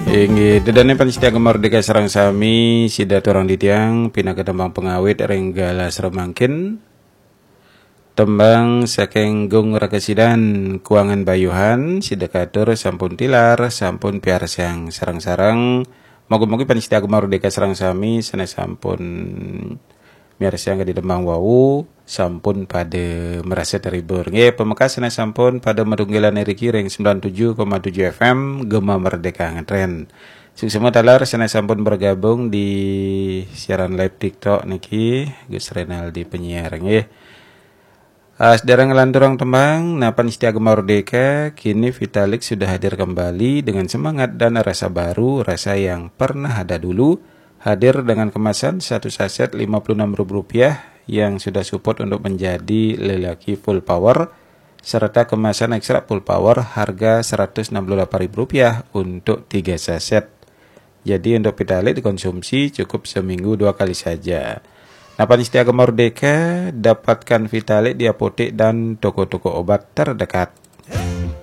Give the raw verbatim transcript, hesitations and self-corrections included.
Inggih, dedane pamiarsa Gema Merdeka sareng sami, sida aturang titiang pinaka tembang pangawit ring galah samangkin. Tembang saking Gung Rakasidan Kuangan Bayuhan, sida katur sampun tilar, sampun piarsang sareng-sareng. Moga-moga pamiarsa Gema Merdeka sareng sami sane sampun miarsang kadi tembang wau sampun pada merasa terhibur. Nggih, pamekas sane sampun pada madungkelan iriki ring sembilan tujuh koma tujuh F M Gema Merdeka ngetren. Suksma taler sane sampun bergabung di siaran live TikTok niki, Gus Renaldi penyiar nggih. Ah, sedherek nglanturang tembang, nah, pamiarsa Gema Merdeka, kini Vitalik sudah hadir kembali dengan semangat dan rasa baru, rasa yang pernah ada dulu, hadir dengan kemasan satu saset lima puluh enam ribu rupiah yang sudah support untuk menjadi lelaki full power, serta kemasan ekstra full power harga seratus enam puluh delapan ribu rupiah untuk tiga saset. Jadi untuk Vitalik dikonsumsi cukup seminggu dua kali saja. Nah, pamiarsa Gema Merdeka, dapatkan Vitalik di apotek dan toko-toko obat terdekat.